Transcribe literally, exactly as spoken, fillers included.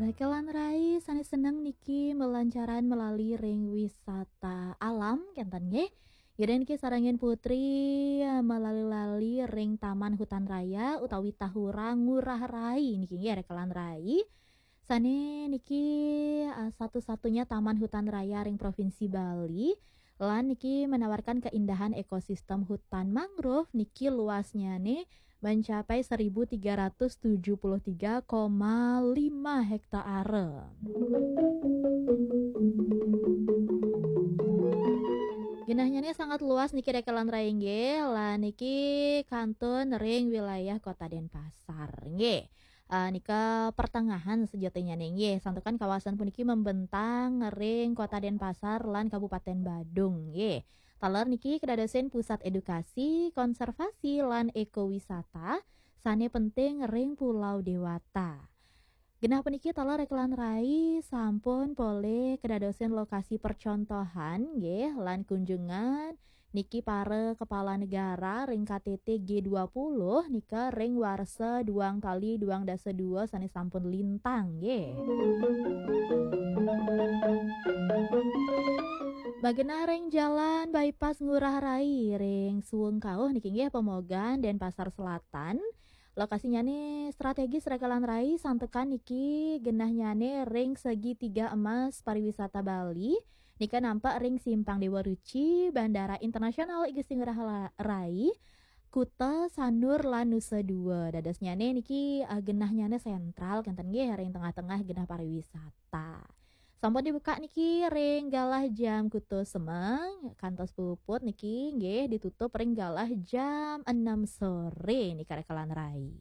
Rekelan rai sané seneng niki melancaran melali ring wisata alam kénten nggih. Yén niki sarengin putri melali-lali ring Taman Hutan Raya utawi Tahura Ngurah Rai niki nggih rekelan rai. Sané niki eh, satu-satunya taman hutan raya ring Provinsi Bali. Lan niki menawarkan keindahan ekosistem hutan mangrove niki luasnyané mencapai seribu tiga ratus tujuh puluh tiga koma lima hektare. Genahnyané sangat luas niki rekelan rai nggih, lan niki kantun ring wilayah Kota Denpasar nggih. Eh, nika pertengahan sejatinya nih nggih, santukan kawasan puniki membentang ring Kota Denpasar lan Kabupaten Badung nggih. Taler niki kedadosin pusat edukasi, konservasi, lan ekowisata sané penting ring Pulau Dewata. Genah puniki taler rekelan rai sampun polih kedadosin lokasi percontohan nggih lan kunjungan niki para kepala negara ring K T T G dua puluh nika ring warsa duang tali duang dasa dua sané sampun lintang nggih. Magenah ring Jalan Bypass Ngurah Rai ring Suwung Kauh niki nggih Pemogan Denpasar Selatan. Lokasinya nih strategis rekelan rai santukan niki genahnyané ring segitiga emas pariwisata Bali. Nika nampak ring Simpang Dewa Ruci, Bandara Internasional I Gusti Ngurah Rai, Kuta Sanur lan Nusa Dua. Dadosnyané niki eh, genahnyané sentral kénten nggih ring tengah-tengah genah pariwisata. Sampun dibuka niki ring galah jam kutus semeng kantos puput niki nggih ditutup ring galah jam enam sore nika rekelan rai.